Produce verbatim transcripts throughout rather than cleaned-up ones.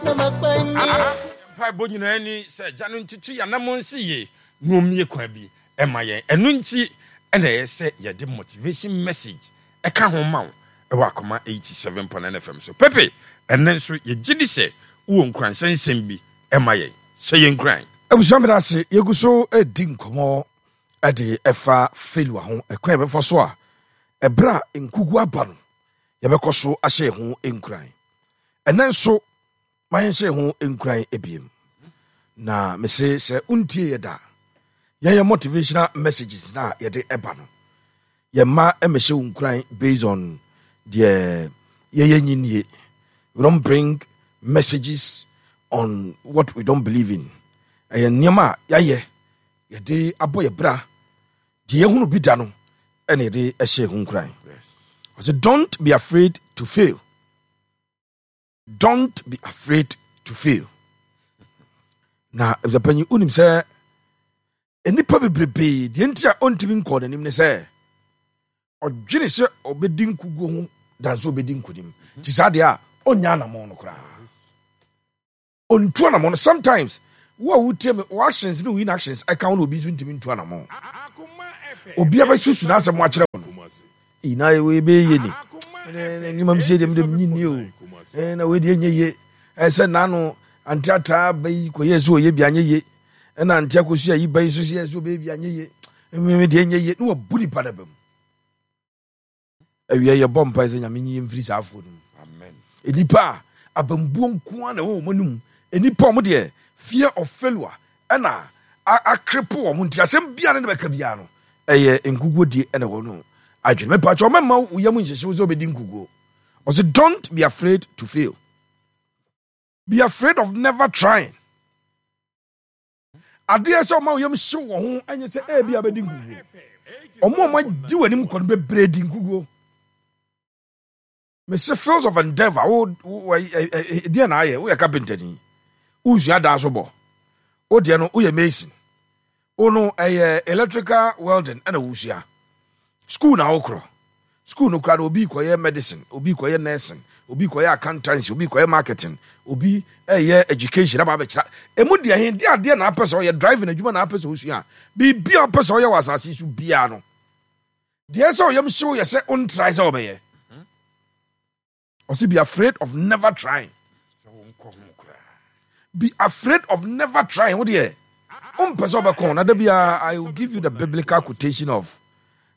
Mpaebɔ nyinaa ni sɛ Agya no ntutu yɛn anammɔn nsi yie na ɔmmue kwan bi mma yɛn. Ɛno nti na ɛyɛ sɛ yɛde motivation message ka ho ma wo wɔ Akoma eighty seven point nine F M so. Pepe, ɛnnɛ nso yɛgye di sɛ wowɔ nkuranhyɛ nsɛm bi ma yɛn. Hyɛ yɛn nkuran. Abusua meda ase, yɛgu so redi nkɔmmɔ de ɛfa failure ho, ɛkwan yɛbɛfa so a ɛberɛ a nkugu aba no yɛbɛkɔ so ahyɛ yɛn ho nkuran. Ɛnnɛ nso ma yɛnhyɛ yɛn ho nkuran ebiem. Na mese sɛ wontie yɛ da, yɛyɛ motivational messages na yɛde ɛba no, yɛmma mmɛhyɛ wo nkuran based on deɛ yɛyɛ nyinie. We don't bring messages on what we don't believe in. Ɛyɛ nneɛma a yɛayɛ, yɛde abɔ yɛ bra, deɛ yɛhunu bi da no ɛna yɛde ɛhyɛ ho nkuran. Ɔsɛ don't be afraid to fail. Don't be afraid to fail. Na abusuapanyin, wonim sɛ nnipa bebrebee deɛ nti a ɔntumi nkɔɔ n'anim ne sɛ ɔdwene sɛ ɔbɛdi nkuguo ho dan sɛ ɔbɛdi nkonim. Nti saa deɛ a ɔnya anammɔn no koraa, ɔntu anammɔn no. Sometimes wo a wotie me, wo actions ne wo inactions ɛka wo na obi nso ntumi ntu anammɔn. Obi abɛsusu n'asɛm akyerɛ wo no, eyi na wei bɛyɛ yie ni, nneɛma mi sie deɛ mi de mi nyi ni o, na wei deɛ nyɛ yie. Ɛsɛ n'ano ante ataa bɛyi kɔyɛ sɛ ɔyɛ bi anyɛ yie, ɛna ante akosua yi bɛyi nso sɛ ɔbɛyɛ bi anyɛ yie, mmemme deɛ nyɛ yie na wabu nipa na bɛm. Awia yɛbɔ mpae sɛ Nyame nyi yɛn mfiri saa afoɔ no mu. Amen. Nnipa a abambuo nko ara na ɛwɔ wɔn anim, nnipa a wɔn deɛ fear of failure ɛna akrepo wɔn, nti asɛm biara ne bɛka biara no ɛyɛ nkuguo die ɛna ɛwɔ no adwene. Mepatwa ɔmɛma wo yam nhyehye wo sɛ wobɛdi nkuguo. Ɔsɛ don't be afraid to fail, be afraid of never trying. Adeɛ sɛ ɔma wo yam hyew wɔ ho ɛnyɛ sɛ ebi a bɛdi nkuguo. Ɔmo a ɔmo agye w'anim kɔ no bebree di nkuguo. Mese fields of endeavor, wo wo deɛ na ayɛ, woyɛ carpenter ni, wosua dan so bɔ, wo deɛ no woyɛ mason, wo no ɛyɛ electrical welding ɛna wosua school na wokorɔ school no koraa no, obi kɔyɛ medicine, obi kɔyɛ nursing, obi kɔyɛ accountancy, obi kɔyɛ marketing, obi ɛyɛ education aba abɛkyerɛ emu deɛ he deɛ adeɛ na apɛ sɛ ɔyɛ driving adwuma na apɛ sɛ osua, biribi a ɔpɛ sɛ ɔyɛ wɔ asase yi so biara no deɛ sɛ ɔyam hyew yɛ sɛ ɔntrae sɛ ɔbɛyɛ. Ɔsi be afraid of never trying. Be afraid of never trying. Wo deɛ ɔmpɛ sɛ ɔbɛkɔn na da biara I will give you the biblical quotation of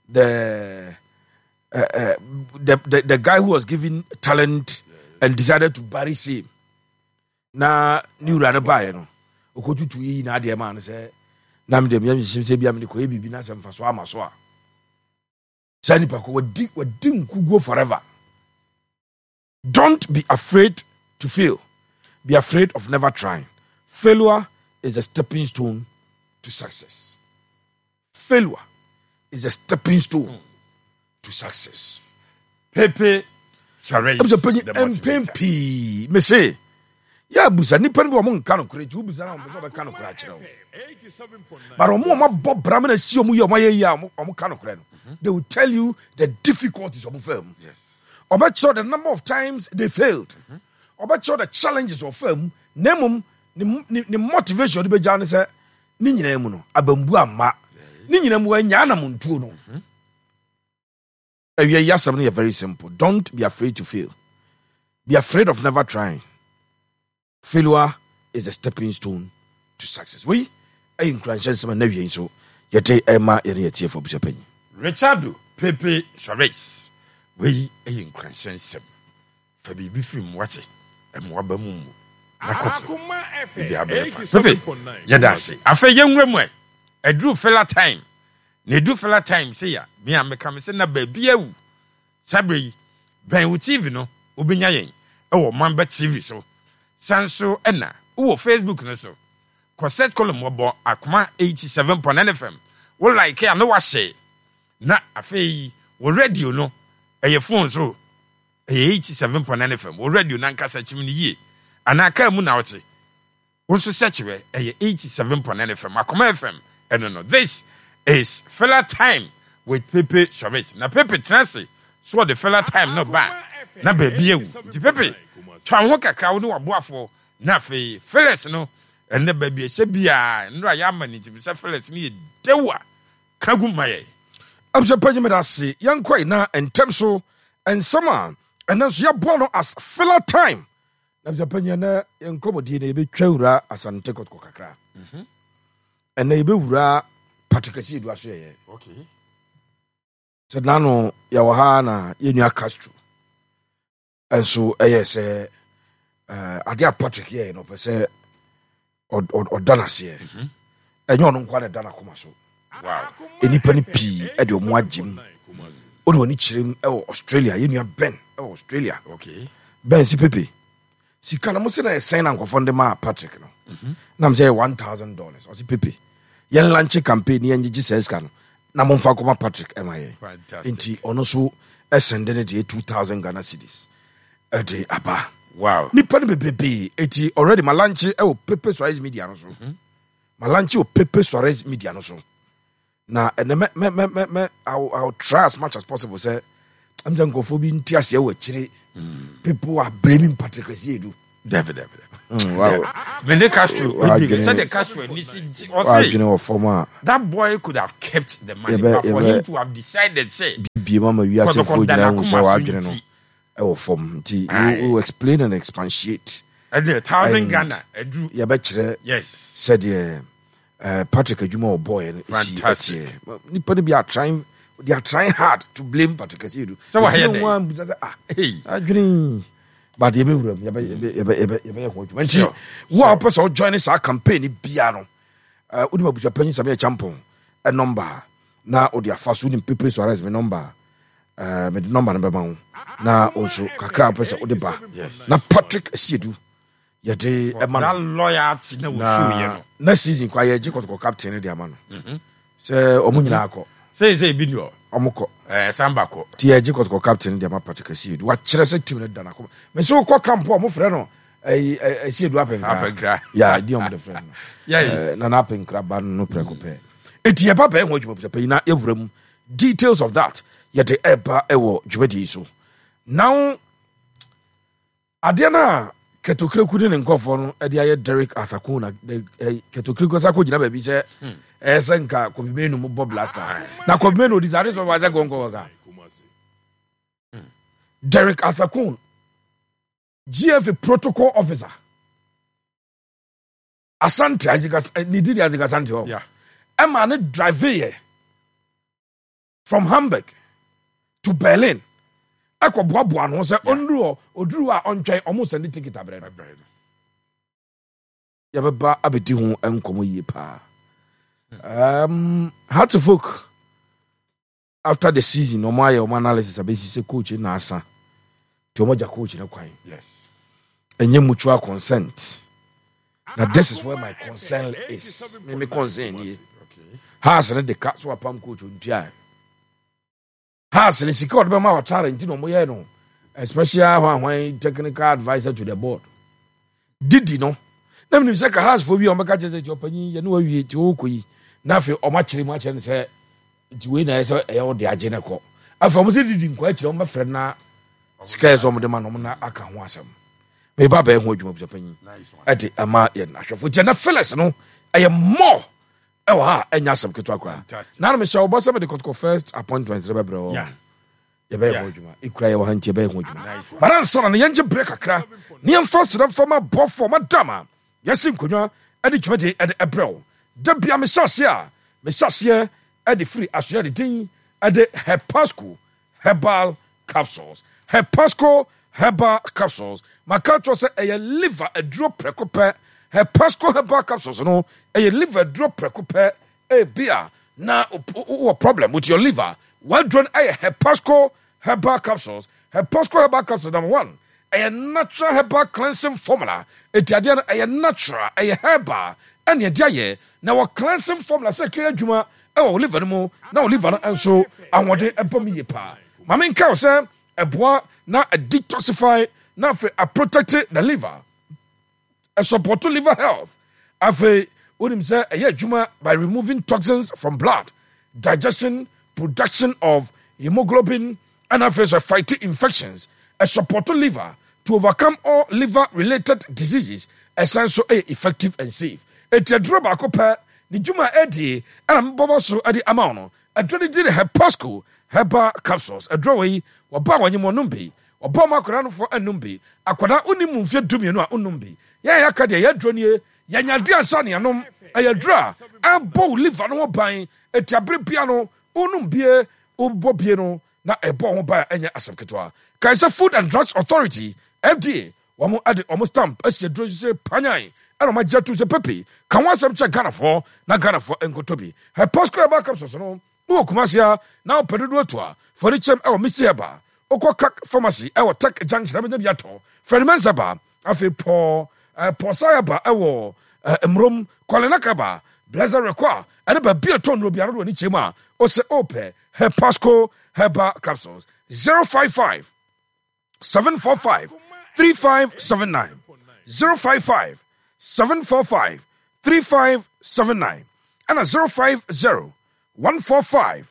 the uh, uh, the, the the guy who was given talent and decided to bury same na ne wura no baeɛ no, ɔkɔtutu yi na adeɛ maa no sɛ na mede meyɛ nhyehyɛm sɛ bia mede kɔyɛ biribi na sɛ mfa so ama so a, saa nipa ko wadi wadi nkuguo forever. Don't be afraid to fail, be afraid of never trying. Failure is a stepping stone to success. Failure is a stepping stone to success. Pepe Suarez. Ɛbisɛ panyin, mpɛn pii mese yɛ abusa nipa no bi, wɔn nka no korɛ, nti wobusa na wɔn pɛ sɛ ɔbɛka no korɛ akyerɛ wo, but wɔn a wɔabɔ bra na si wɔn yie, wɔn ayɛ yie a wɔn ka no korɛ no, they will tell you the difficulties wɔn fɛ mu. Ɔbɛkyerɛ the number of times they failed, ɔbɛkyerɛ the challenges ɔfɛ mu, na mmom ne ne ne motivation ɔde bɛgya ne sɛ ne nyinaa mu no abambu amma ne nyinaa mu wɔanya anamontuo no. Awia yi asɛm no yɛ very simple: don't be afraid to fail, be afraid of never trying. Failure is a stepping stone to success. Wei ɛyɛ nkuranhyɛ nsɛm a na awie nso yɛde ɛma yɛne yɛtiefo, abusuapanyin. Richardo Pepe Suarez, wei ɛyɛ nkuranhyɛ nsɛm. Fa biribi firi mu wate, ɛmmoa ba mu mmu na kɔ so biribi abɛyɛ fa. Pepe, yɛda ase. Afei yɛnwura mu ɛ, ɛduru filler time na ɛduru filler time sɛ ya me a meka me sɛ na baabi awu. Saa berɛ yi bɛn wo T V no, wobɛnya yɛn ɛwɔ Mamba T V so. San so ɛna wowɔ Facebook no so, kɔ search column, wɔbɔ Akoma eighty-seven point nine F M, wo like a na wahyɛ. Na afei wɔ radio no, ɛyɛ phone so, ɛyɛ eighty-seven point nine F M. Wɔ radio no ankasa kyim no yie anaa kaa mu na wote wo nso search wɛ, ɛyɛ eighty-seven point nine F M, Akoma F M. Ɛno no, this is filler time with Pepe Suarez. Na Pepe tena ase so ɔde filler time no ba na baabi awu, nti Pepe twa wo ho kakra, wo ne waboafoɔ Na afei Phyllis no, ɛnɛ baabi ɛhyɛ biara nnora yɛama no, nti sɛ Phyllis no yɛ dew a ka gu ma yɛ. Abusua panyin, meda ase. Yɛnkɔe na ntɛm so nsɛm a ɛnɛ nso yɛboa no as filler time. Na abusua panyin, ɛnɛ yɛnkɔmmɔdie no yɛbɛtwa wura Asante Kɔtɔkɔ kakra. Ɛnɛ yɛbɛwura Patrick Asiedu aso yɛyɛ okay. Sɛ nano yɛwɔ ha na yɛnua Castro ɛnso ɛyɛ sɛ eh, adeɛ a Patrick yɛɛ no, ɔpɛ sɛ ɔd- ɔd- ɔda n'aseɛ. Ɛnyɛ ɔno nkoa na ɛda n'akoma so. Wow nnipa no pii ɛde ɔmo agye mu. Wode w'ani kyerɛ mu ɛwɔ Australia, yɛnua Ben ɛwɔ Australia. Okay Ben si Pepe sika no mo se na ɛsɛn na nkɔfɔ de maa Patrick no nam sɛ yɛ one thousand dollars. Ɔse, "Pepe, yɛn launch campaign ne yɛngyegye saa sika no na momfa nkɔma Patrick ɛma yɛn." Fantastic. Nti ɔno nso ɛsɛnde ne deɛ two thousand Ghana cedis ɛde aba. Wow nipa no bebrebee. Eti already ma launch ɛwɔ Pepe Suarez Media no so, ma launch wɔ Pepe Suarez Media no so. Na ɛnɛ mɛ mɛ mɛ mɛ mɛ I will, I will try as much as possible sɛ ɛm sɛ nkurɔfoɔ bi nte aseɛ wɔ akyire. People are blaming Patrick Asiedu. Dabi, dabi, Mm, wow. Mene Castro Wadwene- sɛdeɛ Castro ani si gye ɔse wadwene wɔ fam a that boy could have kept the money, Yɛbɛ- but for yɛbɛ- him to have decided say bie mu ama wiasefoɔ Kɔtɔkɔ da nyinaa hu sɛ n'akoma so wadwene no nti. ɛwɔ fam. Nti Aye. we will explain and expatiate. Ɛne thousand And Ghana aduru. Yɛbɛkyerɛ yes sɛdeɛ uh, Patrick adwuma a ɔbɔɔyɛ no ɛsi Fantastic. ɛteɛ. Nipa no bi are trying, they are trying hard to blame Patrick Asiedu. Sɛ wayɛ Ebi dɛn? ho a mbisa sɛ, ah, Hey. adwene, but yɛbɛwura mu, yɛbɛ- yɛbɛ- yɛbɛ- yɛbɛ- yɛbɛyɛ ho adwuma. Nti Sure. wo a wopɛ sɛ wojoin saa campaign bia no, uh, wonim abusuapanyin Same Akyampɔn number a na wode afa so. Wonim Pepe Suarez me number a, uh, mede number no bɛma wo na wo nso kakra a wopɛ sɛ wode ba Yes. na Patrick Asiedu yɛde ɛma That no. loyalty na wɔshow yɛ Na no. next season kwa yɛgye Kɔtɔkɔ captain no de ama no sɛ ɔmo nyinaa kɔ. Sɛ sɛ ebi ni hɔ. Ɔmo kɔ. Ɛɛ samba kɔ. Nti yɛgye Kɔtɔkɔ captain no de ama Patrick Asiedu. Wakyerɛ sɛ team no da nakoma. Mɛ sɛ wokɔ camp a, ɔmo frɛ no ɛyi ɛ- Asiedu Apenkra. Apenkra. Ya di ɔmo de frɛ no. Yes. Eh, nana Apenkra ba no no prɛko pɛ. Eti yɛba bɛyɛ ho adwuma panyin na yɛwura mu. Details of that yɛde ɛba ɛwɔ dwumadie yi so. Now adeɛ no a Kɛtɔkureku ne ne nkɔfoɔ no ɛde ayɛ Derek Athako na Kɛtɔkureku sa kɔgyina baabi sɛ ɛyɛ sɛ nka Kobi Menu mu bɔ blaster na Kobi Menu odi saa ade sɛ ɔfa sɛ gɔnkɔ wɔka Derek Athako, G F A protocol officer, Asante Isaac As- eh, ne didi Isaac Asante hɔ Yeah. ɛma ne drive yɛ from Hamburg to Berlin ɛkɔ boaboa no ho sɛ ɔnduru hɔ, ɔduru hɔ a ɔntwɛn ɔmo send ticket abrɛ no. Yɛbɛba abɛdi ho nkɔmmɔ yie paa. um, Hearts of Oak, after the season, ɔmo ayɛ ɔmo analysis abɛsi sɛ coach na asa nti ɔmo agya coach no kwan. Yes. Ɛnyɛ mutual consent. Na this is where my concern is. Me me concern nie. Okay. Hearts ne de ka so apam coach ontua. Hearts ne sika ɔde bɛma Ɔtare nti na ɔmo yɛ no a special hwanhwan technical adviser to the board didi no. Na menim sɛ ka Hearts fo bi a ɔmbɛka kyerɛ sɛ nti ɔpanyin yɛne wawie nti wɔkɔ yi, na afei ɔmo akyerɛ mu akyerɛ no sɛ nti wei na ɛyɛ sɛ ɛyɛ wo de agye ne kɔ. Afei ɔmo sɛ didi nkɔ akyerɛ, ɔmo bɛfrɛ no na sika yɛ sɛ ɔmo de ma no, ɔmo na aka ho asɛm. Meba bɛyɛ ho adwuma busa panyin Nice one. ɛde ama yɛn ahwɛfo gyɛ. Na Phyllis no ɛyɛ more ɛwɔ ha, ɛnyɛ asɛm ketewa koraa. Fantastic. Na mehyɛ wɔbɔ sɛ mede Kɔtɔkɔ first appointment no bɛbrɛ wɔ. Yeah. Yɛbɛyɛ Yeah. ho adwuma ekura yɛwɔ ha nti yɛbɛyɛ ho adwuma. Nice one. Bara nsa na yɛngye berɛ kakra ne yɛmfa serɛ mfa ma bɔfoɔ madam a yɛsi nkonnwa ɛde dwumadie ɛde ɛbrɛ wo da bia. Mehyɛ aseɛ a mehyɛ aseɛ ɛde firi asoɛ de din ɛde Hepasco Herbal Capsules. Hepasco Herbal Capsules, maka kyerɛ sɛ ɛyɛ liver aduro prɛko pɛ. Hepasco Herbal Capsules no ɛyɛ liver aduro prɛko pɛ. Ebi a na wowɔ problem with your liver, waduro no ɛyɛ Hepasco Herbal Capsules. Hepasco Herbal Capsules, number one, ɛyɛ natural herbal cleansing formula. Eti adeɛ no ɛyɛ natural, ɛyɛ herbal ɛne ɛde ayɛ na wɔ cleansing formula sɛ kɛyɛ adwuma ɛwɔ wo liver no mu na wo liver no nso ahoɔden ɛbɔ mu yie paa. Maame nka wo sɛ ɛboa na detoxify na afei aprotect the liver, ɛsupport liver health. Afei wonim sɛ ɛyɛ adwuma by removing toxins from blood, digestion, production of hemoglobin, ɛna afei sɛ fight infections. Ɛsupport liver to overcome all liver related diseases. Ɛsan so ɛyɛ effective and safe. Eti aduro baako pɛ ne dwuma ɛdie ɛna mbɔbɔ so ɛde ama wo no. Aduro no di ne Hepasco Herbal Capsules. Aduro wɔ yi, wɔba a wɔnyem wɔnom bi, ɔba ɔmo akwadaa nofoɔ ɛnum bi. Akwadaa onim mu mfie dumienu a ɔnum bi. Yɛn a yɛaka deɛ, yɛ aduro nie, yɛnya de ansa ne anom. Ɛyɛ aduro a ɛbɔ wo liver no ho ban. Eti abere bia no wonum bie, wobɔ bie no na ɛbɔ ho ban a ɛnyɛ asɛm ketewa. Kae sɛ Food and Drugs Authority, F D A, wɔn de wɔn stamp asi aduro so sɛ panyan, ɛna wɔn agye ato sɛ pepe ka ho asɛm kyɛ Ghanafoɔ na Ghanafoɔ nkotɔ bi. Hepasco Herbal Capsules no wowɔ Kumase a na wopɛ dodoɔ to a, fɔre kyɛm ɛwɔ Misty Herbal. Wokɔ Kak Pharmacy ɛwɔ Tech Junction abɛnya bi atɔ. Freddy Mensa ba, afei pɔ ɛɛ Pɔsa Herbal ɛwɔ ɛɛ Mmurom, Kɔlenaka ba, Blessed Rekɔ a ɛne baabi a ɛtɔ nnuro biara no wɔ ne kyɛm a ɔsɛ ɔpɛ Hepasco Herbal Capsules, zero five five seven four five three five seven nine, zero five five seven four five three five seven nine, ɛna zero five zero one four five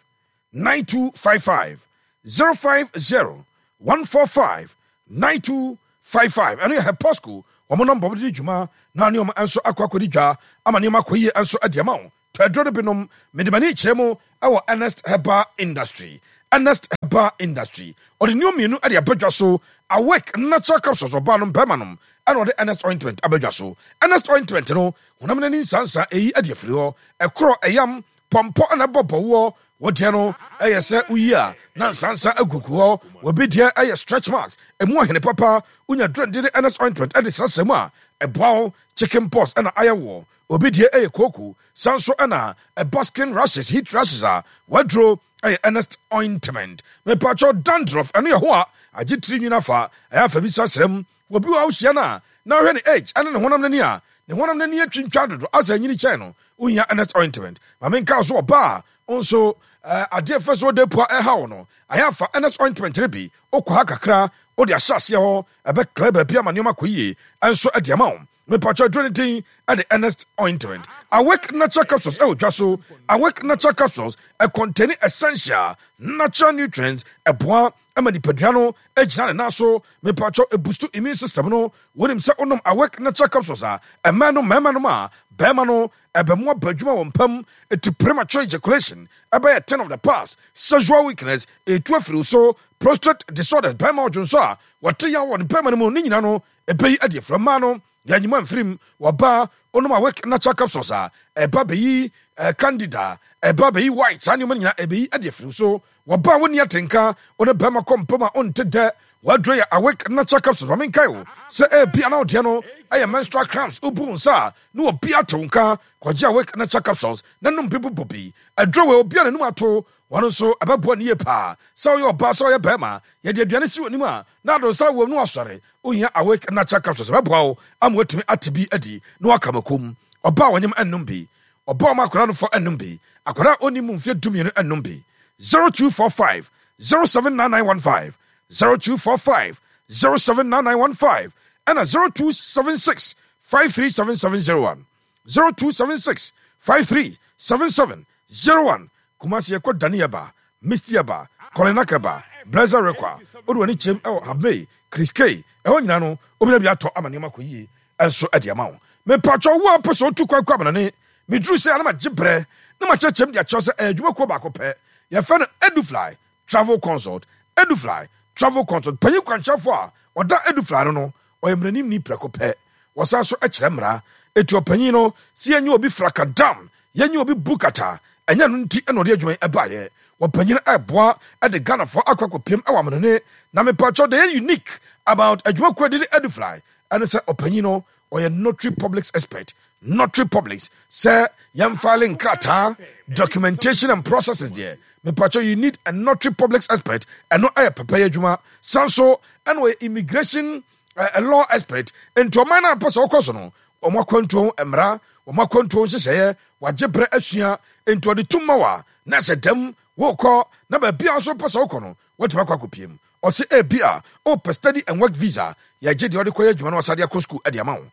nine two five five, zero five zero one four five nine two five five. Ɛno yɛ Hepasco wɔn nɔmba wɔde di dwuma na nneɛma nso akɔ akɔdi dwa ama nneɛma akɔ yie nso de ama wo. Tɔ aduro no binom. Mede m'ani kyerɛ mu ɛwɔ Ernest Herbal Industry. Ernest Herbal Industry ɔde nneɛma mmienu de abɛdwa so: Awake Natural Capsules, ɔbaa nom, bɛrima nom, ɛna ɔde Ernest Ointment abɛdwa so. Ernest Ointment no, honam n'ani nsansa ɛyi de afiri hɔ, ɛkorɔ, ɛyam, pɔmpɔ ɛna ɛbɔ bɔwoɔ. Wɔdeɛ no ɛyɛ sɛ woyi a na nsansa agugu hɔ. Wɔbi deɛ ɛyɛ stretch marks ɛmu ahene papa. Wonya durande ne Ernest Ointment ɛde srasra mu a, ɛboa wo. Chicken pox ɛna ayɛ wɔ obi deɛ, ɛyɛ kooko san so ɛna ɛba skin rashes, heat rashes a, waduro ɛyɛ Ernest Ointment. Mepatwɛ, dandruff ɛno yɛ ho a agye tiri nwina fa, ɛyɛ afa bi srasra mu. Obi wɔ ahohyia no a na ɔhwɛ ne age ɛne ne honam n'ani a ne honam n'ani atwintwa dodo asɛ anyini kyɛn no, wohia Ernest Ointment. Maame nka so, ɔbaa nso adeɛ fɛ so ɔde pua ɛha wo no, ayɛ afa Ernest Ointment no bi, wokɔ ha kakra wode ahyɛ aseɛ hɔ, ɛbɛklɛ baabi ama nneɛma kɔ yie ɛnso ɛde ama wo. Mepatwa, aduro no din ɛde Ernest Ointment. Awake Natural Capsules ɛwɔ dwa so. Awake Natural Capsules ɛcontain essential natural nutrients, ɛboa ɛma nipadua no gyina ne nan so. Mepatwa, ɛboost immune system no. Wonim sɛ wonom Awake Natural Capsules a, ɛmɛ no mmarima nom a, bɛrima no ɛbɛmo aba adwuma wɔ mpam. Ɛti premature ejaculation ɛbɛyɛ thing of the past. Sexual weakness ɛtu afiri so. Prostate disorders, bɛrima ɔdwonso a wɔte yaw wɔ ne bɛrima no mu ne nyina no, ɛbɛyi adi afira. Mmaa no yɛnyima mfirim. Wɔba onom Awake Natural Capsules a, ɛba bɛyi candida, ɛba bɛyi white, saa nneɛma no nyinaa ɛbɛyi adi afiri so. Wɔba a wonni atenka, wo ne bɛrima kɔ mpam a ɔnte dɛ, waduro yɛ Awake Natural Capsules. Ma menkae wo sɛ ɛbi ana wodeɛ no ɛyɛ menstrual cramps, wobu wo nsa a ne wɔbi ate wo nka, kɔgye Awake Natural Capsules na nom bi bobɔ bi. Aduro wɔ obi a n'anim ato wɔn nso, ɛbɛboa ne yie paa. Sɛ woyɛ ɔbaa, sɛ ɔyɛ bɛrima, yɛde aduane si w'anim a na ado nsa wɔ mu asɔre, wohia Awake Natural Capsules, ɛbɛboa wo ama watumi ate bi adi na waka makom. Ɔbaa wɔnyem ɛnnom bi. Ɔbaa ɔma akwadaa no fɔ ɛnnom bi. Akwadaa a ɔnni mu mfeɛ dumienu ɛnnom bi. zero two four five zero seven nine nine one five, zero two four five zero seven nine nine one five, ɛna zero two seven six five three seven seven zero one, zero two seven six five three seven seven zero one. Kumasi yɛkɔ Daniaba, Misty Aba, Kɔlenakaba, Blazer Rekwa, wode w'ani kyerɛm ɛwɔ Habmei, Chris K, ɛhɔ nyinaa no wobɛnya bi atɔ ama nneɛma kɔ yie ɛnso ɛde ama wo. Mepatwɛ, wo a pɛ sɛ wotu kwan kɔ amanane, meduru sɛ ana magye berɛ na makyerɛkyerɛm de akyerɛw sɛ ɛyɛ adwumakuo baako pɛ, yɛfrɛ no Edufly Travel Consult. Edufly Travel Consult panyin kwankyerɛfoɔ a ɔda Edufly no no ɔyɛ mmaranimni prɛko pɛ. Wɔsan so kyerɛ mmara. Etu ɔpanyin no si yɛnyɛ obi frakadam, yɛnyɛ obi bukata, ɛnyɛ no nti ɛna ɔde adwuma yi ɛbaeɛ. Wɔpanyin ɛboa ɛde Ghanafoɔ akɔ akɔpiem ɛwɔ amanone. Na mepatwɛ, deɛ yɛ unique about adwumakuo de de Edufly ɛne sɛ ɔpanyin no ɔyɛ notary public expert. Notary public sɛ yɛmfile nkrataa, documentation and processes deɛ, mepatwɛ, you need a notary public expert. Ɛno ɛyɛ pɛpɛyɛ adwuma. San so ɛna ɔyɛ immigration uh, law expert. Nti ɔman no a pɛ sɛ ɔkɔ so no, wɔn akwantuo mmara, wɔn akwantuo nhyehyɛeɛ, wagye berɛ asua. Nti ɔde tum ma wa na sɛ dɛm wokɔ na baabi a nso pɛ sɛ wokɔ no, watumi akɔ akɔpiem. Ɔsɛ ebi a wopɛ study and work visa, yɛgye deɛ ɔde kɔyɛ adwuma no wasade akɔ school ɛde ama wo.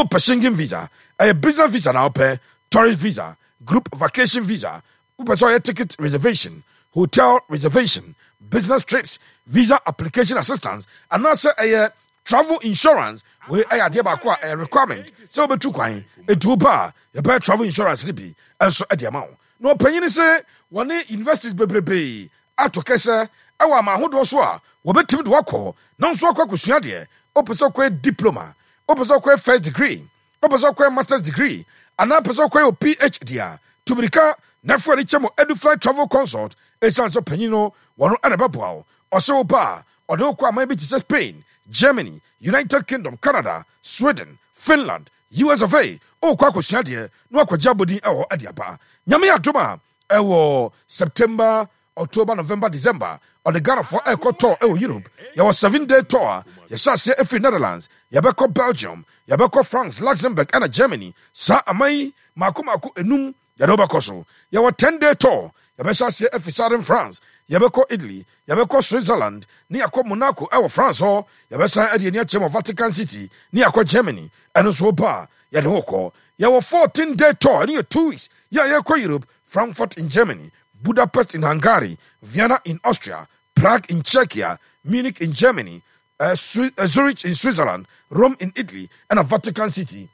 Wopɛ Schengen visa, ɛyɛ business visa na wopɛ tourist visa, group vacation visa, wopɛ sɛ ɔyɛ ticket reservation, hotel reservation, business trips, visa application assistance, anaasɛ ɛyɛ travel insurance, Wei ɛyɛ adeɛ baako a ɛyɛ requirement sɛ wobɛtu kwan. Enti wo ba a, yɛbɛyɛ travel insurance no bi nso de ama wo. Na ɔpanyin se wɔne universities bebrebe ato kɛsɛ ɛwɔ aman ahodoɔ so a wɔbɛtumi de wakɔ na nso akɔ akɔsua adeɛ. Wopɛ sɛ wokɔyɛ diploma, wopɛ sɛ wokɔyɛ first degree, wopɛ sɛ wokɔyɛ masters degree, anaa pɛ sɛ wokɔyɛ o P H D a, tu mirika na ɛfo ani kyɛ mo Edufly Travel Consult. Ɛsiane sɛ ɔpanyin no wɔno ɛna ɛbɛboa wo. Ɔsɛ wo ba a, ɔde wo kɔ aman bi te sɛ Spain, Germany, United Kingdom, Canada, Sweden, Finland, U S of A. Wokɔ akɔsua adeɛ na wakɔgye abɔdin ɛwɔ hɔ de aba. Nyame adom a, ɛwɔ September, October, November, December, ɔde Ghanafoɔ ɛkɔ tour ɛwɔ Europe. Yɛwɔ seven day tour a yɛhyɛ aseɛ ɛfiri Netherlands, yɛbɛkɔ Belgium, yɛbɛkɔ France, Luxembourg ɛna Germany. Saa aman yi maako maako enum yɛde wobɛkɔ so. Yɛwɔ ten day tour, yɛbɛhyɛ aseɛ ɛfiri southern France, yɛbɛkɔ Italy, yɛbɛkɔ Switzerland ne yɛakɔ Monaco ɛwɔ France hɔ. Yɛbɛsan ɛde ani akyerɛ wɔ Vatican City ne yɛakɔ Germany. Ɛno nso woba a, yɛde wo kɔ. Yɛwɔ fourteen day tour, ɛno yɛ two weeks, yɛ a yɛkɔ Europe: Frankfurt in Germany, Budapest in Hungary, Vienna in Austria, Prague in Czechia, Munich in Germany, uh, uh, Zurich in Switzerland, Rome in Italy ɛna Vatican City.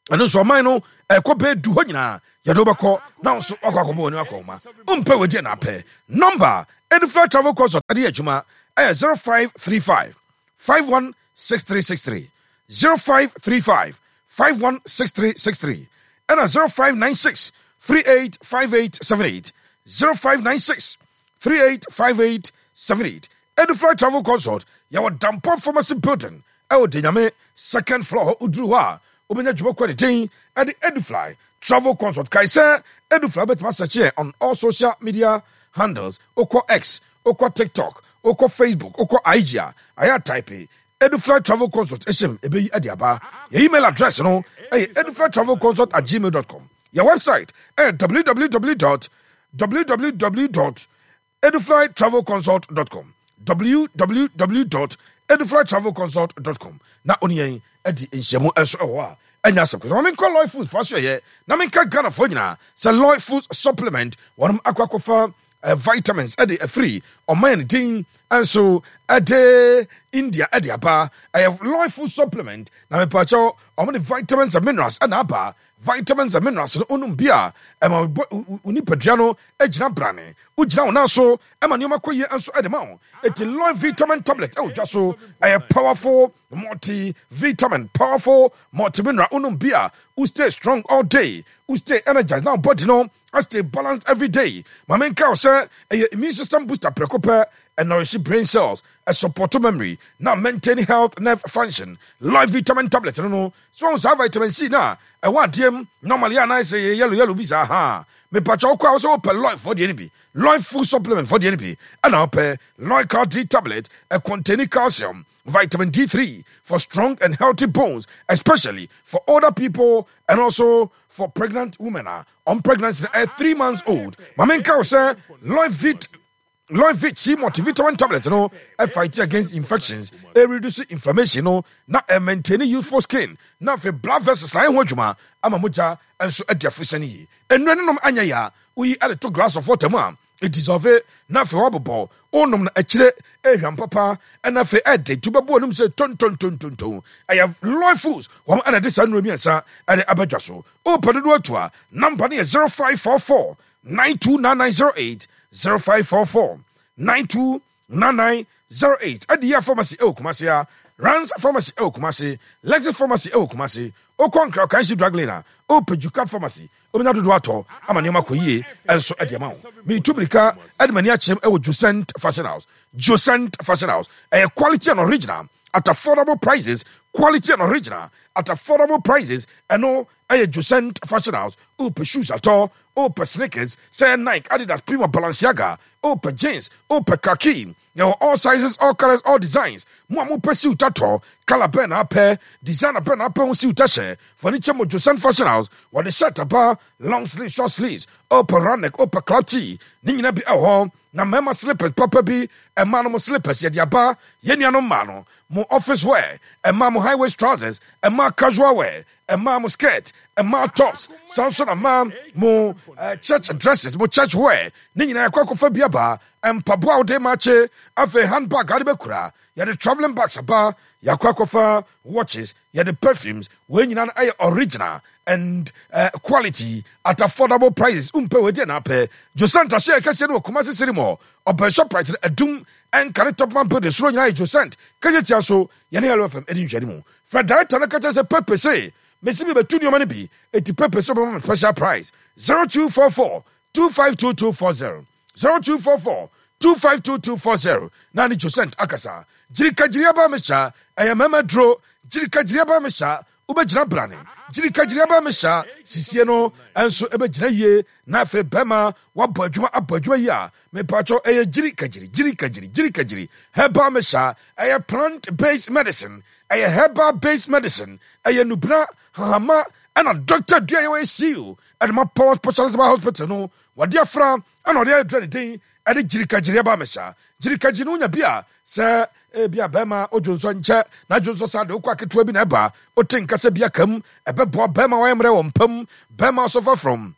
Ɛno nso ɔman no ɛkɔ bɛɛ du hɔ nyinaa yɛde wobɛkɔ na wo nso wakɔ akɔbɔ w'ani akɔ ma wompɛ wadi na apɛ. Number Edufly Travel Consult ade yɛ adwuma ɛyɛ zero five three five five one six three six three, zero five three five five one six three six three, ɛna zero five nine six three eight five eight seven eight, zero five nine six three eight five eight seven eight. Edufly Travel Consult, yɛwɔ Dampɔ Pharmacy building ɛwɔ Denyame second floor hɔ. Woduru hɔ a, wobɛnya dwumakɔ ne din ɛde Edufly Travel Consult. Kae sɛ Edufly wobɛtumi asɛkye yɛn on all social media handles. Wokɔ X, wokɔ TikTok, wokɔ Facebook, wokɔ I G a, ayɛ type Edufly Travel Consult ɛhyɛm, ɛbɛyi ade aba. Yɛ email address no ɛyɛ edufly travel consult at gmail dot com. Yɛ website ɛyɛ W W W W W W eduflytravelconsult dot com, W W W eduflytravelconsult dot com. Na ɔne yɛn adi nhyiamu nso ɛwɔ hɔ a ɛnyɛ asɛm kɔsɛ. Ma menkɔ Lloyd Foods fa so yɛyɛ na menka Ghanafoɔ nyinaa sɛ Lloyd Foods supplement, wɔnom akɔ akɔfa uh, vitamins ɛde afiri ɔman no din nso ɛde India ɛde aba. Ɛyɛ Lloyd Food supplement na mepakyɛw, ɔmo de vitamins and minerals ɛna aba. Vitamins and minerals no, onum bi a, ɛma wo nipadua no gyina brane, wogyina wo nan so, ɛma nneɛma kɔ yie nso ɛde ma wo. Eti Lloyd vitamin tablet ɛwɔ dwa so, ɛyɛ powerful multi vitamin, powerful multi mineral. Onum bi a, wo stay strong all day, wo stay energized, na wo body no stay balanced every day. Maame, nka wo sɛ ɛyɛ immune system booster prɛko pɛ, ɛnourish brain cells, ɛsupport memory na maintain health nerve function. Lloyd vitamin tablet no no so wɔn saa vitamin C na ɛwɔ adeɛ mu normally a na sɛ yɛ yellow yellow bi saa ha. Mepatwa, wokɔ a, wo sɛ wopɛ Lloyd fɔ deɛ no bi, Lloyd food supplement fɔ deɛ no bi, ɛna wopɛ Lloyd Cal D tablet. Ɛcontain calcium, vitamin D three for strong and healthy bones, especially for older people and also for pregnant women uh, on pregnancy at three months old. Maame, nka wo sɛ Lloyd Vit Lloyd Vit C multivitamin tablet no ɛ fight against infections, ɛ reduce inflammation no na ɛ maintain youthful skin, na afei blood vessels na ɛho adwuma ama mogya nso adi afusɛn yie. Nnuro no nom anyɛ ya, woyi ɛde to glass of water mu a, ɛdissolve na afei wabobɔ wonom no akyire, ɛhwam papa, ɛna afei ɛde nti wobɛbɔ anom sɛ tontontontonton. Ɛyɛ Lloyd Foods wɔn ɛna de saa nnuro mmiɛnsa ɛde abɛdwa so. Wopɛ dodoɔ atu a, number no yɛ zero five four four nine two nine nine zero eight, zero five four four nine two nine nine zero eight. Ɛde yɛ pharmacy ɛwɔ Kumase a, Rans Pharmacy ɛwɔ Kumase, Lexus Pharmacy ɛwɔ Kumase. Wokɔ Nkra Kanshi Drug Lane a, wopɛ Juka Pharmacy, wobɛnya dodoɔ atɔ ama nneɛma kɔ yie ɛnso ɛde ama wo. Metu mirika ɛde m'ani akyerɛm ɛwɔ Josent Fashion House. Josent Fashion House ɛyɛ quality and original at affordable prices, quality and original at affordable prices. Ɛno ɛyɛ Josent Fashion House. Wopɛ shoes atɔ, wopɛ sneakers sɛ Nike, Adidas, Puma, Balenciaga, wopɛ jeans, wopɛ khaki, yɛwɔ all sizes, all colors, all designs. Mo a mopɛ suit atɔ, colour bɛn na apɛ, designer bɛn na apɛ ho suit ahyɛ, fani kyɛ mo Josent Fashion House. Wɔde shirt aba, long sleeves, short sleeves, wopɛ round neck, wopɛ club tee, ne nyina bi ɛwɔ hɔ. Na mmarima slippers papa bi, ɛmaa no mo slippers yɛde aba. Yɛn nuanom mmaa no mo office wear, ɛmaa mo high waist trousers, ɛmaa casual wear, ɛmaa mo skirt, ɛmaa tops, saa nso na mmaa mo uh, church dresses, mo church wear ne nyinaa ɛkɔ akɔfa bi aba. Mpaboa a wode ma akye, afei handbag a wode bɛkura, yɛde travelling bags aba. Yɛakɔ akɔfa watches, yɛde perfumes, wei nyinaa no ɛyɛ original and uh, quality at affordable prices. Wompɛ wei deɛ na apɛ. Josant aso yɛ kɛseɛ no wɔ Kumase Siri mu, ɔbɛn Shoprite no, Adum ɛnka ne Topman building soro nyinaa yɛ Josant. Kɛnyɛ tia so yɛne Hello F M ɛdi nhwɛne mu. Frɛ director no ka kyerɛ sɛ Pepe se mesi mi bɛtu nneɛma no bi, eti Pepe sɛ ɔbɛma me special price. zero two four four two five two two four zero, zero two four four two five two two four zero na ne Josant akasa. Gyirikagyiri aba mehyɛ, ɛyɛ mmarima duro. Gyirikagyiri aba mehyɛ, wobɛgyina brane. Gyirikagyiri aba mehyɛ sisie no nso ɛbɛgyina yie na afei bɛrima wabɔ adwuma, abɔ adwuma yi a mepatwɔ. Ɛyɛ gyirikagyiri, gyirikagyiri, gyirikagyiri herbal mehyɛ. Ɛyɛ plant based medicine, ɛyɛ herbal based medicine, ɛyɛ nubra hahama ɛna doctor dua yɛ wɔyɛ seal ɛde ma Power Specialist Hospital no wɔde afra ɛna ɔde ayɛ dura ne den ɛde gyirikagyiri aba mehyɛ. Gyirikagyiri no wonya bi a sɛ ebi a bɛrima odwo nsɔ nkyɛ na adwo nsɔ saa de wokɔ aketewa bi na ɛba wote nkasa bi aka mu, ɛbɛboa bɛrima wayɛ mmerɛ wɔ mpam, bɛrima suffer from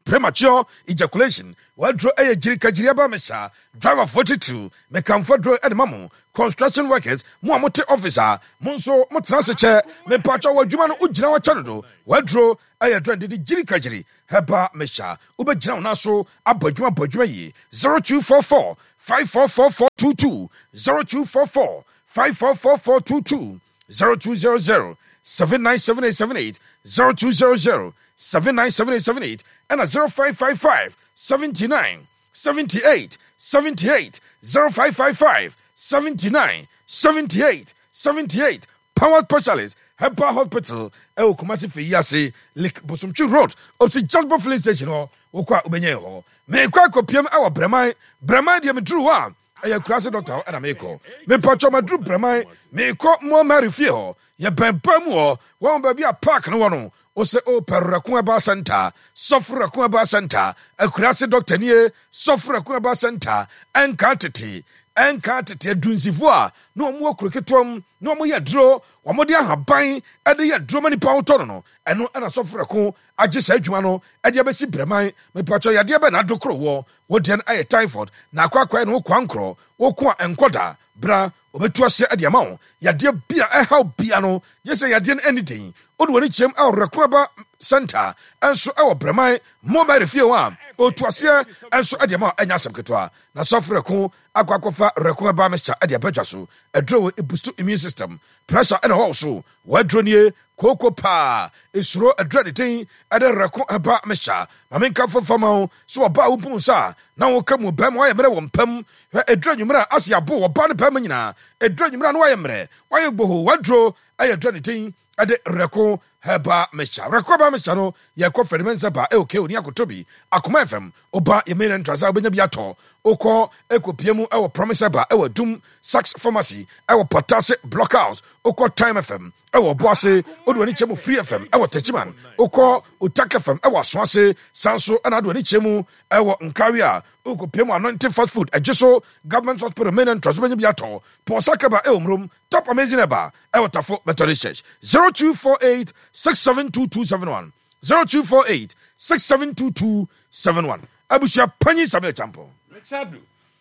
premature ejaculation, waduro ɛyɛ gyirikagyiri aba mehyɛ. Driverfoɔ titiriw, mekamfo duro ɛde ma mo. Construction workers, mo a mote office a mo nso motena ase kyɛ, mepatwa wɔ adwuma no wogyina hɔ kyɛ dodo, waduro ɛyɛ duro de de gyirikagyiri herbal mehyɛ. Wobɛgyina wo nan so abɔ adwuma, bɔ adwuma yie. zero two four four five four four four two two, zero two four four five four four four two two, zero two zero zero seven nine seven eight seven eight, zero two zero zero seven nine seven eight seven eight, ɛna zero five five five seventy-nine seventy-eight seventy-eight, zero five five five seventy-nine seventy-eight seventy-eight. Power Specialist Herbal Hospital ɛwɔ Kumasi fɛ yi ase, Lake Bosomtwi Road, opposite Jasper filling station hɔ. Wokɔ a wobɛnya yɛ hɔ. Meekɔ akɔpiam ɛwɔ Brɛman. Brɛman deɛ, meduru hɔ a ɛyɛ kurase doctor hɔ ɛna meekɔ. Mepatwɔ, maduru Brɛman, meekɔ Moa Mary fie hɔ. Yɛbɛn pa mu hɔ, wɔn baabi a park no wɔ no. Wosɛ wopɛ Rɛko Herbal Center, Sɔfo Rɛko Herbal Center, akurase doctor nie. Sɔfo Rɛko Herbal Center, ɛnka tete, ɛnka tete adunsifoɔ a na wɔn wɔ kuro ketewa mu na wɔn yɛ duro, wɔn de ahaban ɛde yɛ duro ma nipa ahotɔ no no ɛno ɛna Sɔfo Rɛko agye saa adwuma no ɛde abɛsi Brɛman. Mepatwɔ, yadeɛ bɛ na adokoro wɔ wodeɛ no ɛyɛ typhoid na akɔ akɔyɛ no wokɔ ankorɔ woko a ɛnkɔ bra, obɛtu aseɛ ɛde ama wo. Yadeɛ bia ɛhaw bia no gye sɛ yadeɛ no ɛni den, wode w'ani kyerɛm ɛwɔ Rɛko Herbal Center ɛnso ɛwɔ Brɛman mobile fie hɔ a ɔtu aseɛ ɛnso ɛde ama wo. Ɛnyɛ asɛm ketewa na Sɔfo Rɛko akɔ akɔfa Rɛko Herbal Mixture ɛde abɛdwa so. Ɛduro wɔ ɛboost immune system, pressure ɛna ɛwɔ wo so, wɔaduro nie kooko paa esuro aduro de den ɛde Rɛko Herbal Mixture. Maame nka fofa ma wo so ɔbaa wo bu nsa na woka mu bɛrima wayɛ mmerɛ wɔ mpam. Hwɛ, ɛduro anwummerɛ a ase abo ɔbaa ne bɛrima nyinaa, ɛduro anwummerɛ a na wayɛ mmerɛ, wayɛ gboho, waduro ɛyɛ duro ne den ɛde Rɛko Herbal Mixture. Rɛko Herbal Mixture no yɛkɔ Fɛdimɛnsa ba ɛwɔ keo ne akoto bi Akoma F M ɔba yɛ main entrance a wobɛnya bi atɔ. Wokɔ ɛkɔpie mu ɛwɔ Promise Herbal ɛwɔ Adum, Sax Pharmacy ɛwɔ Patase Block House, wokɔ Time F M ɛwɔ Ɔboase, wode w'ani kyɛ mu Free F M ɛwɔ Techiman, wokɔ Otak F M ɛwɔ Asoase, san so ɛna wode w'ani kyɛ mu ɛwɔ Nkawi a wokɔpie mu Anointing Fast Food ɛgye so Government Hospital main entrance wobɛnya bi atɔ. Paul Sakaba ɛwɔ Murom, Top Amazing Herbal ɛwɔ Tafo Methodist Church. zero two four eight six seven two two seven one, zero two four eight six seven two two seven one. Abusua panyin Samuel Champo. Richard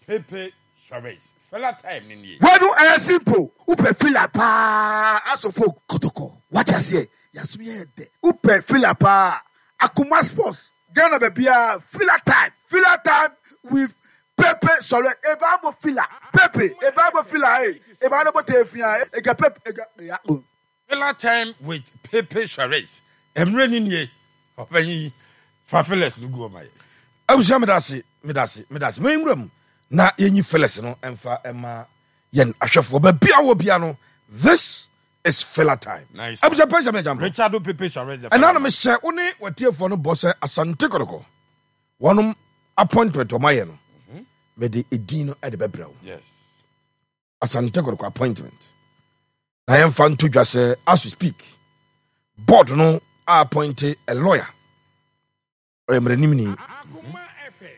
Pepe Suarez, fella time ni nie. Wɛnu ɛyɛ simple. Wopɛ fila paa, asofo Kɔtɔkɔ wate aseɛ, yasom yɛ dɛ. Wopɛ fila paa, Akoma Sports, Ghana baabiara, fila time, fila time with Pepe Sɔrɛ eba mo fila Pepe eba mo fila e eba no mo te fia ega Pepe ega eya o. Filler time with Pepe Suarez, mmerɛ ni nie. Ɔpanyin yi fa fillers no gu ɔma yɛ. Abusua, medase, medase, medase. Ma nwura mu na yɛnyi fillers no ɛmfa ɛma yɛn ahwɛfoɔ baabi a wɔ bia no. This is filler time. Nice. Abusua panyin Samuel Champo. Richard Pepe Suarez the ɛna na fella. Mehyɛ wo ne watiefoɔ no bɔ sɛ Asante Kɔtɔkɔ wɔnom appointment ɔma yɛ no, mede edin no ɛde bɛbrɛ wo. Yes Asante Kɔtɔkɔ appointment na yɛmfa nto dwa sɛ as we speak, board no appoint a lawyer, ɔyɛ mmaranimni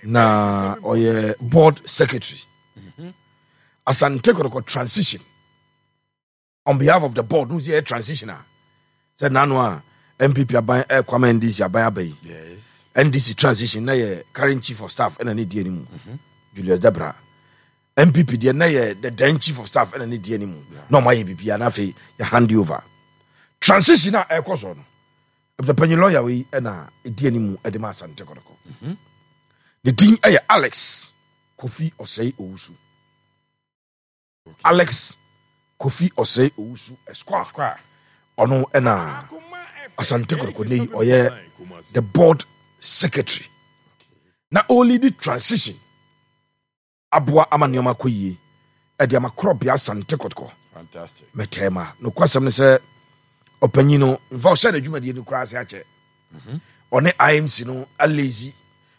na ɔyɛ board secretary. Asante Kɔtɔkɔ transition, on behalf of the board no, sɛ yɛ transition a sɛ nano a N P P aban ɛkɔ ama N D C aban aba yi, yes N D C transition na yɛ current chief of staff ɛna ne di anim, Julius Debra. N P P deɛ na yɛ the then chief of staff ɛna ne di anim na ɔmo ayɛ biribiara, na afei yɛ hand over. Transition a ɛkɔ so no, abusuapanyin, lawyer wei ɛna edi anim ɛde ma Asante Kɔtɔkɔ. Ne din ɛyɛ Alex Kofi Ɔsɛe Owusu. Alex Kofi Ɔsɛe Owusu Esquire, ɔno ɛna Asante Kɔtɔkɔ ne yi ɔyɛ the board secretary na ɔlead transition aboa ama nneɛma akɔ yie ɛde ama korɔbea Asante Kɔtɔkɔ. Fantastic. Mɛtɛɛ ma nokwasɛm no sɛ ɔpanyin no mfa ɔhyɛ n'adwumadie no koraa ase akyɛ. Ɔne I M C no alezi,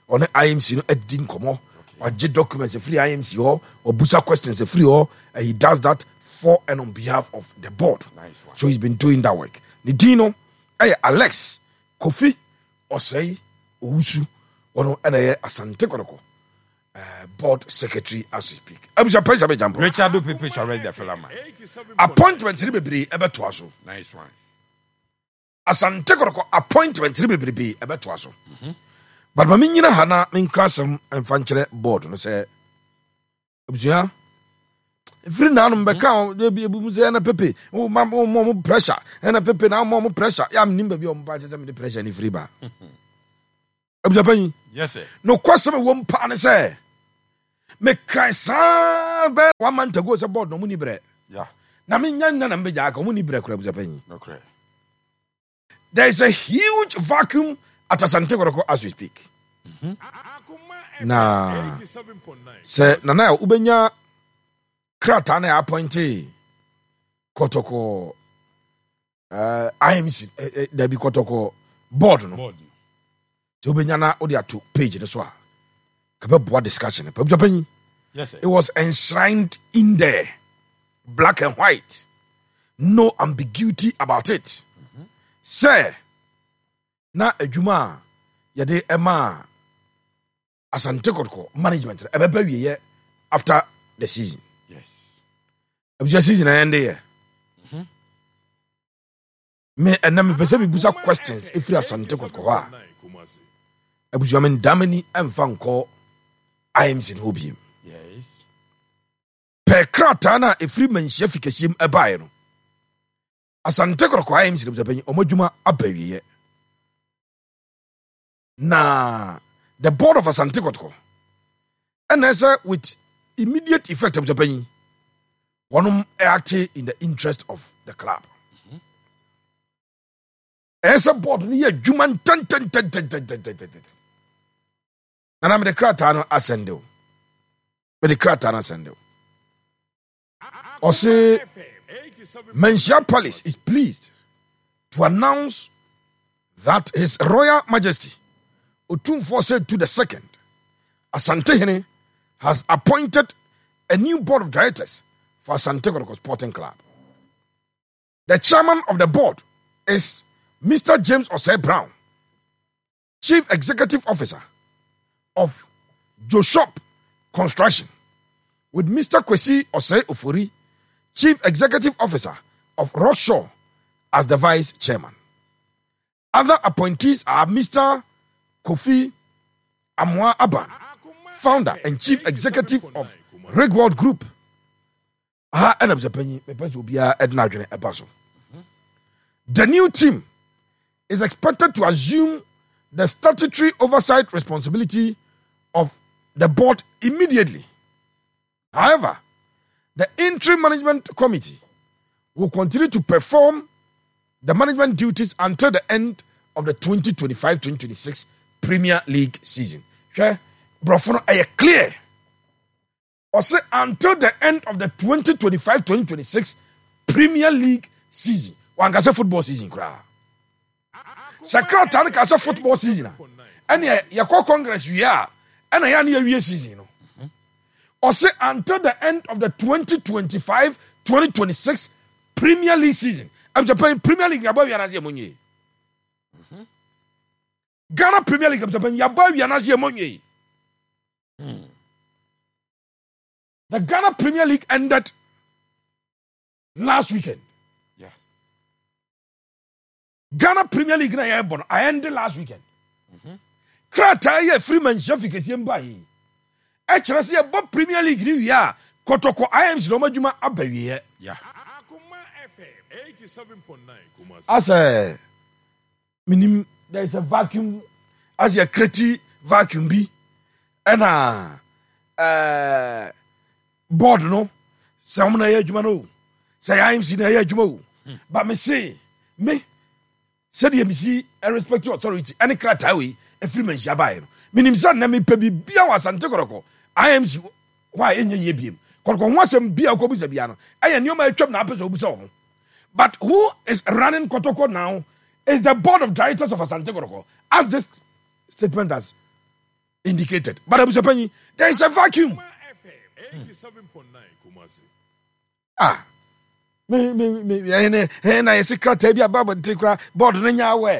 ɔne I M C no adi nkɔmmɔ, wagye documents afiri I M C hɔ, ɔbusa questions afiri hɔ, and he does that for and on behalf of the board. Nice one. So he's been doing that work. Ne din no ɛyɛ Alex Kofi Ɔsɛe Owusu. Ɔno ɛna ɛyɛ Asante Kɔtɔkɔ uh, board secretary as we speak. Abusua pɛn sɛ bɛgyampo. Richard Pepe Suarez, the fella man. Appointment ne bebree ɛbɛtoa so. Nice one. Asante Kɔtɔkɔ appointment ne bebrebe ɛbɛtoa so, but ma menyina ha na menka asɛm mfa nkyerɛ board no sɛ, abusua, ɛfiri naanom bɛka ebi sɛ ɛna Pepe woma mo pressure, ɛna Pepe na woma mo pressure yɛ menim baabi a ɔmo kyɛ sɛ mede pressure ne firi ba. Abusua panyin, Yes, sir. nokwasɛm ɛwɔ m paa ne sɛ mekae saa bɛɛ one month ago sɛ board na ɔmo ni berɛ Yeah. na menya nna na mbɛgya aka ɔmo ni berɛ kora. Abusua panyin, No correct. there is a huge vacuum at Asante Kotoko as we speak. Na sɛ nana a wobɛnya krataa na appoint Kɔtɔkɔ uh, I M C, eh, eh, dabi, Kɔtɔkɔ board no, Board. sɛ wobɛnya na wode ato page no so a, kabɛboa discussion no. Abusua panyin, Yes, sir. it was enshrined in there, black and white, no ambiguity about it, sɛ na adwuma a yɛde ɛma Asante Kɔtɔkɔ management no ɛbɛba wieyɛ after the season. Yes. Abusua, season a yɛnde yɛ me ɛnɛ, mepɛ sɛ mebusa questions ɛfiri Asante Kɔtɔkɔ hɔ a, abusua, me ndamani ɛmfa nkɔ I M C no hɔ biem. Yes. Pɛ krataa no a ɛfiri Manhyia fi kɛseɛ mu ɛbaeɛ no, Asante Kɔtɔkɔ I M C no, abusuapanyin, ɔmo adwuma aba awieɛ na the board of Asante Kɔtɔkɔ ɛna ɛsɛ with immediate effect, abusuapanyin, wɔnom act in the interest of the club. Ɛyɛ sɛ board no yɛ adwuma ntɛntɛntɛntɛntɛntɛntɛntɛn. Nana, mede krataa no asɛnde o, mede krataa no asɛnde o. Ɔse Manhyia Palace is pleased to announce that His Royal Majesty Otumfuo Osei the Second, Asantehene, has appointed a new board of directors for Asante Kotoko Sporting Club. The chairman of the board is Mister James Osei Brown, Chief Executive Officer of Joshop Construction, with Mister Kwesi Osei Ofori, Chief Executive Officer of Rockshaw, as the Vice Chairman. Other appointees are Mister Kofi Amoa Aban, founder and Chief Executive of Rigworld Group. Ha ɛna abusuapanyin, mepɛ sɛ obiara ɛde n'adwene ɛba so. The new team is expected to assume the statutory oversight responsibility of the board immediately. However, the interim management committee will continue to perform the management duties until the end of the twenty twenty-five twenty twenty-six Premier League season. Hwɛ, borɔfo no ɛyɛ clear. Ɔsɛ until the end of the twenty twenty-five twenty twenty-six Premier League season. Wankasa football season koraa. Sɛ krataa no ka sɛ football season a, ɛne yɛkɔ congress wie a, ɛna yɛ ne yɛwie season no. Ɔsɛ until the end of the twenty twenty-five twenty twenty-six Premier League season. Abusuapanyin, Premier League yabɔ awia n'ase yɛ mo nwie. Ghana Premier League, abusuapanyin, yabɔ awia n'ase yɛ mo nwie. The Ghana Premier League ended last weekend. Yeah. Ghana Premier League na yɛbɔ no ended last weekend. Krataa yɛ firi Manhyia fi kɛseɛ mba yi ɛkyerɛ sɛ yɛbɔ Premier League ni wie a, Kɔtɔkɔ I M C na ɔmo adwuma aba wieɛ. Yeah. Asɛ minim there is a vacuum, asɛ yɛ create vacuum bi, ɛna ɛɛ board no sɛ ɔmo na ɛyɛ adwuma no o, sɛ yɛ I M C na ɛyɛ adwuma o, but me se me sɛdeɛ mesi respect authority ɛne krataa wei ɛfiri Manhyia baeɛ no, menim sɛ nnɛ mepɛ biribia wɔ Asante Kɔtɔkɔ I M C hɔ a ɛnyɛ yie biem. Kɔtɔkɔ ho asɛm bia wokɔbusa bia no, ɛyɛ nneɔma atwam na apɛ sɛ wobusa wɔ ho. But who is running Kɔtɔkɔ now is the board of directors of Asante Kɔtɔkɔ, as this statement has indicated. But abusuapanyin, there is a vacuum. Ah, me me me ɛne ɛna yɛsi krataa bi aba abɔnten kora, board no nya awɛ.